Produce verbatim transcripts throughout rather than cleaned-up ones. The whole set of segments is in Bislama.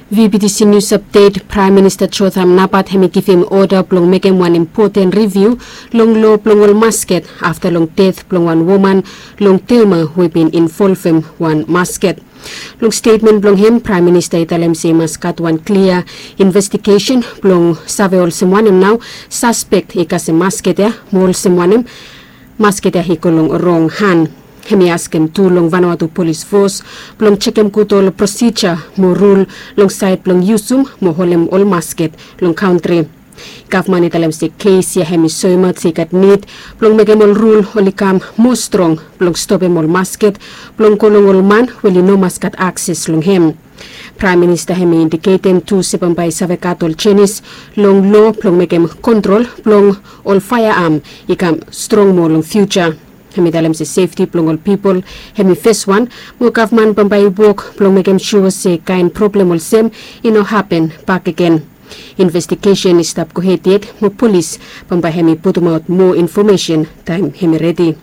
V B T C News Update. Praem Minista Jotham Napat hemi givim oda blong mekem wan impoten riviu long loa blong ol masket afta long ded blong wan woman long Thelma we i bin involvem wan masket. Long stetmen blong hem, Praem Minista i talem se i mas gat wan klia investigesen blong save olsem wanem nao saspek i kasem masket ya, mo olsem wanem masket ya i go long rong han. Hemi askem tu long Vanuatu Polis Fos blong jekem gud ol prosija mo rul long saed blong yusum mo holem ol masket long kantri. Gavman i talem se kes ya hemi soemaot se i gat nid blong mekem ol rul oli kam moa strong blong stopem ol masket blong go long ol man we oli no mas gat akses long hem. Praem Minista hemi indiketem tu se bambae i save gat ol jenis long loa blong mekem kontrol blong ol faeaam i kam strong moa long fiuja. Hemi talem se sefti blong ol pipol hemi feswan, mo gavman bambae i wok blong mekem sua se kaen problem olsem i no hapen bakegen. Investigesen i stap gohed yet, mo polis bambae hemi putumaot moa infomesen taem hemi redi.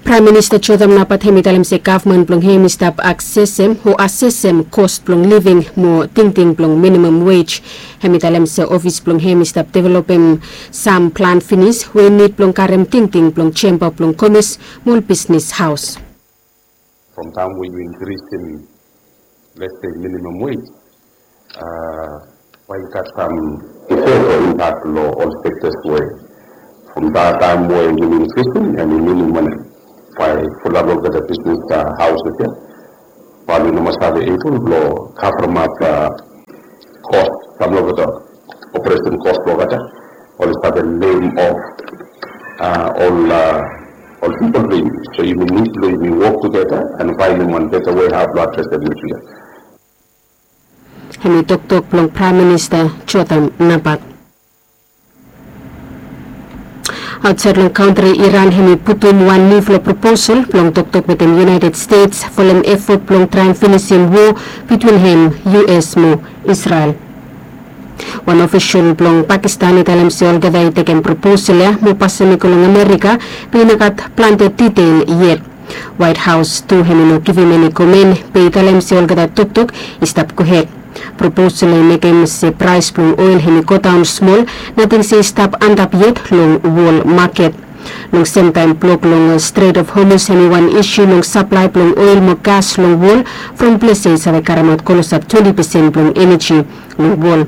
Praem Minista Jotham Napat hemi talem se gavman blong hem i stap aksesem o asesem kos blong living mo tingting blong minimum wage. Hemi talem se ofis blong hem i stap developem sam plan finis we i nid blong karem tingting blong jemba blong komes mo ol bisnis haos. From taem we yu inkrisim, let's say, minimum wage, bae i gat sam ifek o impak long ol sektas we from taem we yumi inkrisim, hemi minim wanem, bae fulap olgeta bisnis haosis ya bae oli no mas save ebol blong kavremap kos, sam long olgeta operesen kos blong olgeta, oli save lem of ol ol pipol blong yumi. So yumi nid blong yumi wok tugeta and faenem wan beta wei hao blong adresem isu ya. Hemi toktok blong Praem Minista Jotham Napat. Aotsaed long kantri, Iran hemi putum wan niufala proposal blong toktok wetem United States folem efot blong traem finisim woa bitwin hem, U S mo Israel. Wan ofisol blong Pakistan i talem se olgeta i tekem proposal ya mo pasem i go long Amerika, be i no gat plante detael yet. Waet Haos tu hemi no givim eni komen, be i talem se olgeta toktok i stap gohed. Proposal i mekem se praes blong oel hemi godaon smol, nating se i stap antap yet long wol maket. Long semtaem, blok long Strait of Hormuz hemi wan isu long saplae blong oel mo gas long wol, from ples ya i save karemaot klosap twenti pesen blong eneji long wol.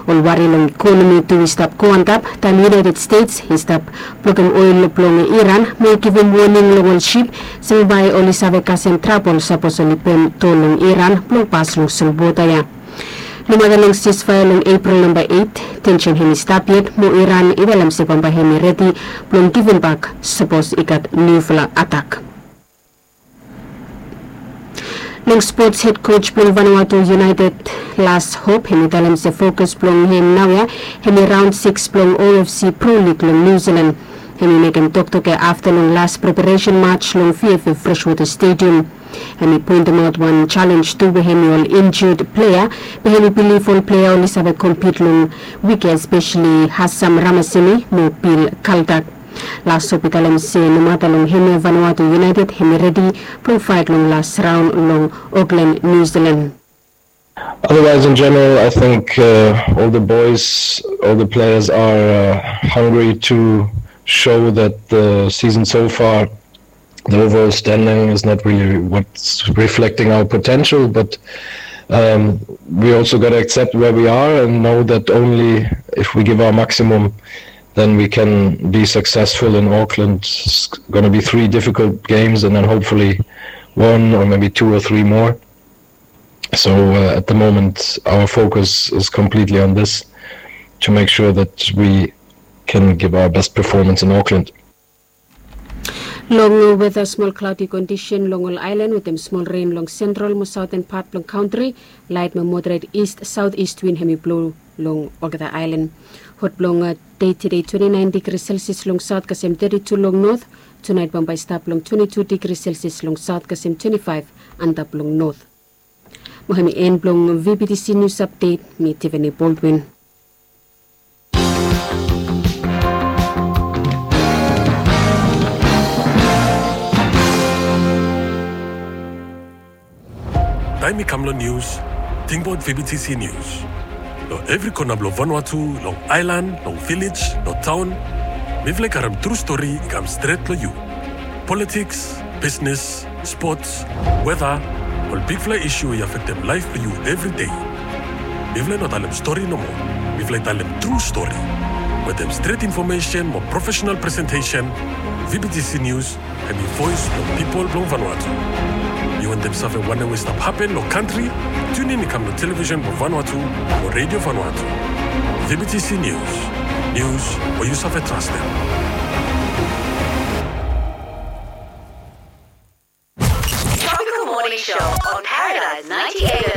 Ol wari long ikonomi tu i stap go antap taem United States i stap blokem oel blong Iran mo i givim woning long ol sip se bae oli save kasem trabol sapos oli pem tol long Iran blong pas long solwota ya. Nomata long sisfaea long Epril namba eit, tensen hemi stap yet mo Iran i talem se bambae hemi redi blong givimbak sapos i gat niufala atak. Long spots, hed koj blong Vanuatu United, Lars Hope, hemi talem se fokus blong hem naoia hemi raon sikis blong O F C Pro League long New Zealand. Hemi mekem toktok ya afta long las preparesen maj long V F F Freshwater Stadium. Hemi poentemaot wan jalenj tu we hemi ol injud plea, be hemi bilif ol plea oli save kompit long wik ya, espeseli Hassam Ramaseni mo Bill Kaldak. Lars Hope i talem se nomata long hemia, Vanuatu United hemi redi blong faet long las raon long Auckland, New Zealand. Otherwise, in general, I think uh, all the boys, all the players are uh, hungry to show that the season so far, the overall standing is not really what's reflecting our potential, but um, we also got to accept where we are and know that only if we give our maximum, then we can be successful in Auckland. It's going to be three difficult games and then hopefully one or maybe two or three more. So uh, at the moment, our focus is completely on this to make sure that we can give our best performance in Auckland. Long weta, smol klaodi kondisen long ol aelan wetem smol ren long sentral mo saoten pat blong kantri. Laet mo moderet ist saoteast win hemi blo long olgeta aelan. Hot blong dei tede, twenti naen digri Celsius long saot kasem teti tu long not. Tunaet bambae i stap long twenti tu digri Celsius long saot kasem twenti faef antap long not. Mo hemi en blong V B T C News Update. Mi Tiffany Baldwin. Taem i kam long nius, tingbaot V B T C Nius. Long evri kona blong Vanuatu, long aelan, long vilej, long taon, mifala i karem tru stori i kam stret long yu. Politiks, bisnes, spots, weta, ol bigfala isu i afektem laef blong yu evri dei. Mifala i no talem stori nomo. Mifala i talem tru stori. Wetem stret infomesen mo profesenal presentesen, V B T C Nius hemi voes blong pipol blong Vanuatu. Yu wantem save wanem we i stap hapen long kantri? Tiunin i kam long televisen blong Vanuatu mo Redio Vanuatu. V B T C Nius. Nius we yu save trastem. Tropical Morning Show on Paradise ninety-eight